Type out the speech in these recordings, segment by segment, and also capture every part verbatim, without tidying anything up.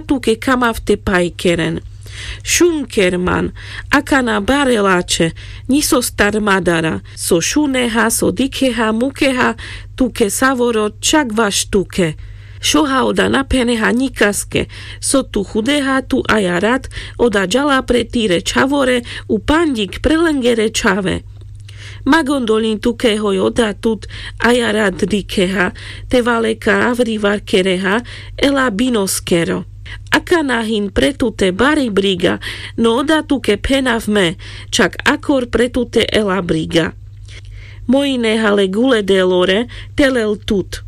tuke kamav te pajkeren. Šunker man. Akana bare lače. Nji so star madara. So šuneha, so dikheha, mukeha, tuke savoro čak vaš tuke. Šoha oda na pheneha njikaske. So tu chudeha tu aja rat, oda džala pre tire čhavore, u pandjik pre lengere čhave. Ma gondoljin tuke hoj oda tut aja rat dikheha, te valeka avri vakereha, ela binoskero. Akana hin pre tute bari briga, no oda tuke phenav me, čak akor pre tute ela briga. Mojine hale gule delore, te lel tut.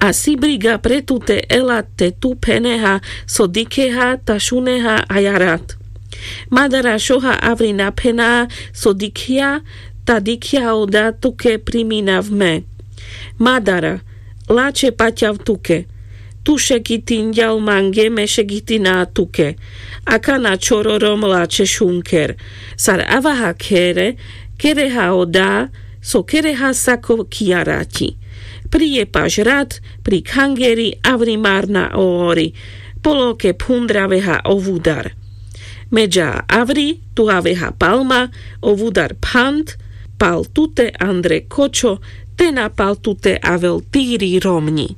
A si briga pre tute ela te tu pheneha, so dikheha, ta šuneha aja rat. Madara šoha avri na phena, so dikhja, ta dikhja oda tuke priminav me. Madara, lače paťav tuke. Tu šegitinďal mange, me šegitina tuke. Akana čor orom lače šunker. Sar avaha khere, kereha oda, so kereha sako kija raťi. Pri jepaš rat, pri khangeri, avri marna o ori. Poloke phundraveha o vudar. Me dža avri, tu aveha palma, o vudar phand, pal tute andre kočo, te na pal tute avel tiri romňi.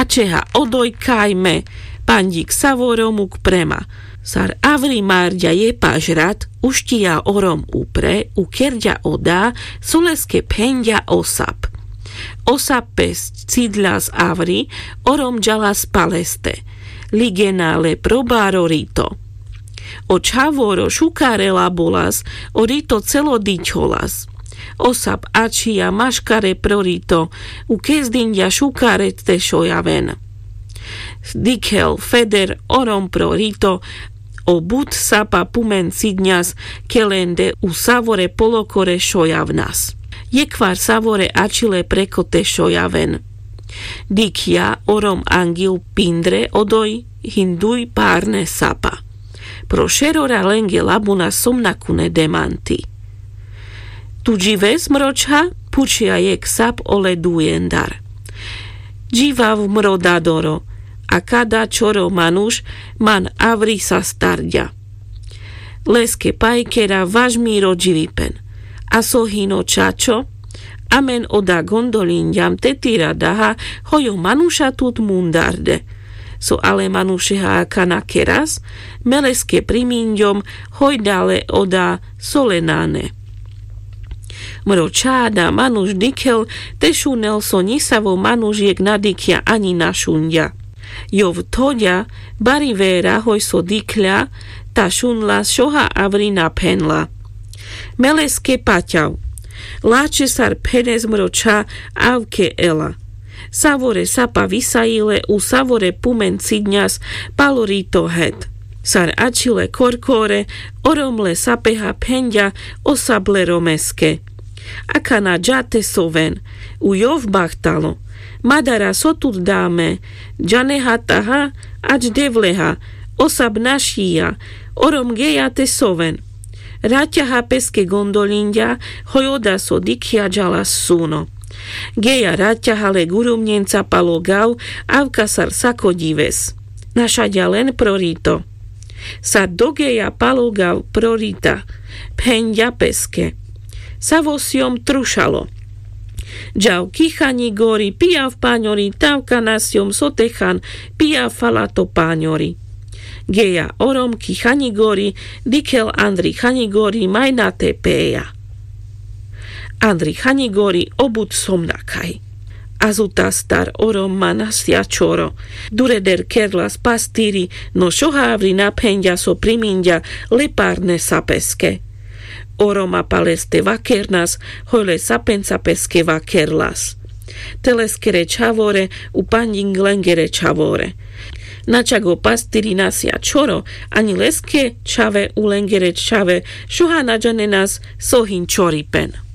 Ačeha odoj kaj me, pandjik savoro muk prema. Sar avri marďa jepaš rat, ušťija orom upre, ukerďa oda, so leske phenďa o sap. O sap pes cidľas avri, orom džalas paleste. Ligena le pro baro rito. O čhavoro šukarela bolas, o rito celo dičholas. O sap ačhija maškare pro rito, ukezdinďa šukare te šojaven. Dikhel feder orom pro rito, o but sapa pumen cidňas, kelende u savore polokore šojavnas. Jekhvar savore ačhile preko te šojaven. Dikhja orom angjil pindre odoj hinduj parne sapa. Pro šerora lenge labuna somnakune demanti. Tu džives, mro čha? Phučhja jekh sap ole dujendar. Dživav, mro dadoro, a kada čoro manuš man avri sa starďa. Leske pajkera vaš miro dživipen. A so hino čačo? Amen oda gondolinďam te tira daha, hoj o manuša tut mundarde. So ale manušeha akana keras? Me leske priminďom, hoj dale oda so le nane. Mro čha, da manuš dikhel, te šunel so nisavo manuš jekh na dikhja aňi na šunďa. Jov thoďa, bari vera hoj so dikhľa, ta šunla, šoha avri na phenla. Me leske paťav. Lačhe sar phenes, mro čha, avke ela. Savore sapa visajile, u savore pumen cidňas palo rito het. Sar ačhile korkore, orom le sapeha phenďa o sap le romeske. Akana dža te soven, u jov bahtalo. Madara, so tut da me? Džaneha taha, ač devleha, o sap našija, orom geja te soven. Raťaha peske gondolinďa, hoj oda so dikhja džalas suno. Geja raťaha le gurumňenca palo gav, avka sar sako džives. Našaďa len pro rito. Sar dogeja palo gav pro rita, phenďa peske. Savo sjom trušalo. Džav ki chaňi gori, pijav paňori, tavka na sjom so te chan, pijav fala to paňori. Geja orom ki chaňi gori, dikhel andri chaňi gori, majna te peja. Andri chaňi gori o but somnakaj. Azutastar orom ma nasja čoro. Dureder kerlas pastiri, no šoha avri na phenďa so priminďa le parne sapeske. Oroma paleste vakernas, hoj le sapenca peske vakerlas. Te leskere čhavore, u pandjing lengere čhavore. Na čak o pastiri nasja čoro, aňi leske čhave u lengere čhave, šoha na džanenas so hin čoripen.